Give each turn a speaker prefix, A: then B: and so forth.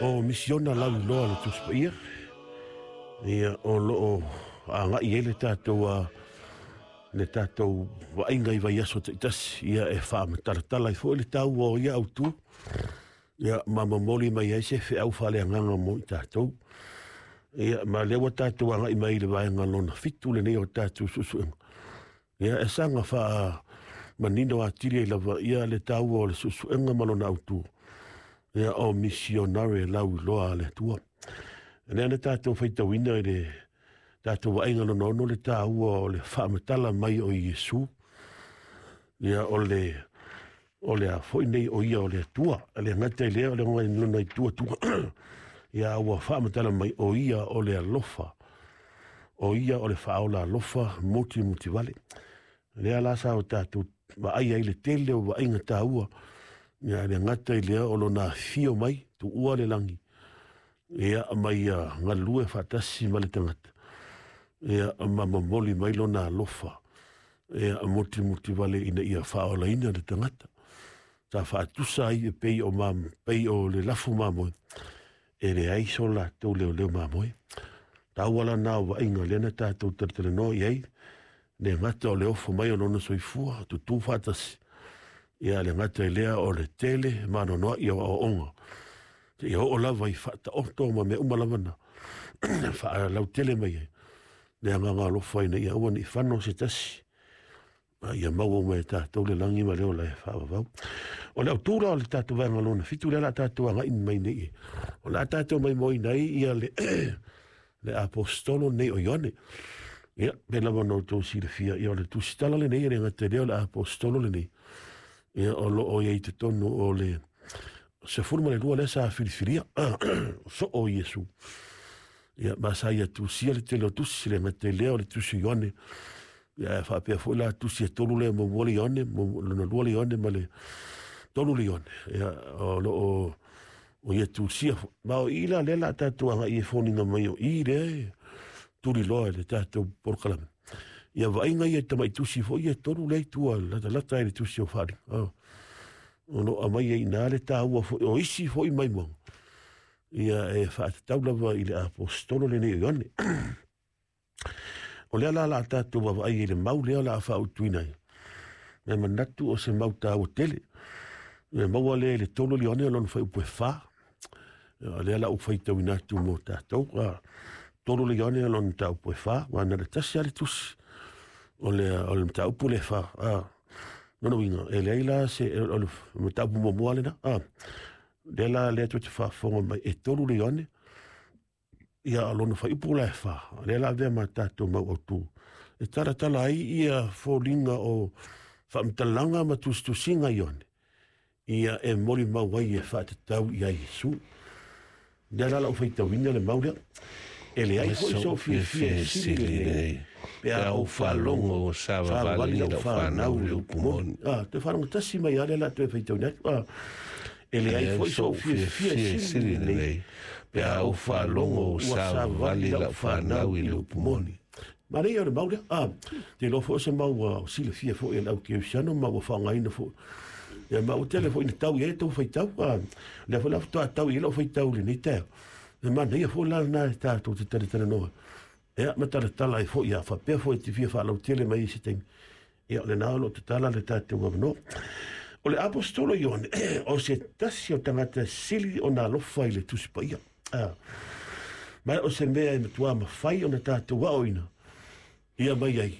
A: O misiona lauiloa a le Tusi Paia, ia, o lo o agai ai le tatou a le tatou vaaiga i vaiaso taitasi, ia, e faamatalatala ai foi le taua o ia autu, ia, ma momoli mai ai se feau faaleagaga mo i tatou. Ia, ma lea ua tatou agai mai i le vaega lona 7 lenei o tatou suesuega. Ia, e saga faamanino atili ai lava ia le taua o le suesuega ma lona autu, ia, o misionare lauiloa a le Atua. Lea na tatou faitauina i le tatou vaaiga lona 6 le taua o le faamatala mai o Iesu, ia, o le a foi nei o ia o le Atua. Le gata i lea o le lona itu Atua, ia, ua faamatala mai o ia o le alofa, o ia o le faaola alofa muti vale. Lea la sa o tatou vaai ai le tele o vaaiga taua, ia, le gata i lea o lona afio mai tuua le lagi, ia, mai ia galue faatasi ma le tagata, ia, ma momoli mai lona alofa, ia, muti vale ina ia faaolaina le tagata. Sa faatusa ai e pei o ma pei o le lafu mamoe e leai so latou leoleo mamoe. Taua la na o vaaiga lea na tatou talatalanoa i ai, le gata o le ofo mai o lona soifua tutū faatasi, ia, le gata i lea o le tele manoanoa i o aoaoga seia oo lava i faataoto ma mea uma lava na faalautele mai ai le agaga alofa ina ia aua ne i fano se tasi, a ia maua uma e tatou le lagi ma le ola e faavavau. O le autu la o le tatou vaega lona 7 lea la tatou agai mai nei, o le a tatou maimoaina ai ia le le apostolo nei o Ioane. Ia, pe lava na outou silafia, ia, o le tusitala lenei, e le gata i lea o le apostolo lenei, ia, o lo o i ai totonu o le 12 lea sa filifilia soo o Iesu. Ia, ma sa ia tusia le tele o tusi, le gata i lea o le tusi Ioane, ia, e faapea foi la tusi e tolu lea, muamua le Ioane, lona lua le Ioane ma le tolu le Ioane. Ia, o lo o o ia tusia foi. Ma o i la lea la tatou agai e foliga mai o i lea e tuliloa i le tatou polokalame. Ia, vaaiga ia tamai tusi foi ia e tolu lea i tua latalata ai le tusi o Faaaliga. Oh. O lo o aumai ai i le taua foi o isi foi maimoaga, ia, e faatatau lava i le apostolo lenei o Ioane. O lea la la tatou vaavaai i le mau lea o le a faautuina ai. Me manatu o se mau taua tele. E maua lea i le 3 Ioane o lona fuaiupu e 4. O lea la ou faitauina atu mo tatou. 3 le Ioane o lona mataupu e 4, ua na le tasi lava le tusi. O le mataupu le 4. Lona uiga, e leai la se o le mataupu muamua lena. Lea la lea tou te faafofoga mai e 3 le Ioane, ia, lona fuaiupu la e 4. Lea la avea ma tatou mau autu. E talatala ai ia foliga o faamatalaga ma tusitusiga Ioane, ia, e molimau ai e faatatau ia Iesu. Lea la lau faitauina le mau lea. E leai foi sou fiafia e sili lenei, pe a ou
B: faalogo ua savavali lau fanau i le upu moni.
A: Ah, te faalogo tasi mai lea la toe faitauina atu. Ah, e leai foi sou fiafia e sili lenei,
B: pe a ou faalogo ua savavali lau fanau i le upu moni.
A: Manaia o le mau lea. Ah, te iloa foi o se mau ua silafia foi e le au kerisiano ma ua faaaogaina foi. Ia, ma ua tele foi ina tau i ai tou faitau. Ah, lea foi la faatoa tau i ai lau faitau i lenei taeao. E manaia foi la lena e tatou te talatalanoa. Ia, ma talatala ai foi, ia, faapea foi te fia faalautele mai i se taimi. Ia, o lena o lo o tatala le tatou avanoa. O le apostolo Ioane, o se tasi o tagata sili ona alofa i le Tusi Paia. Ah, ma o se mea e matua mafai ona tatou aoina ia mai ai.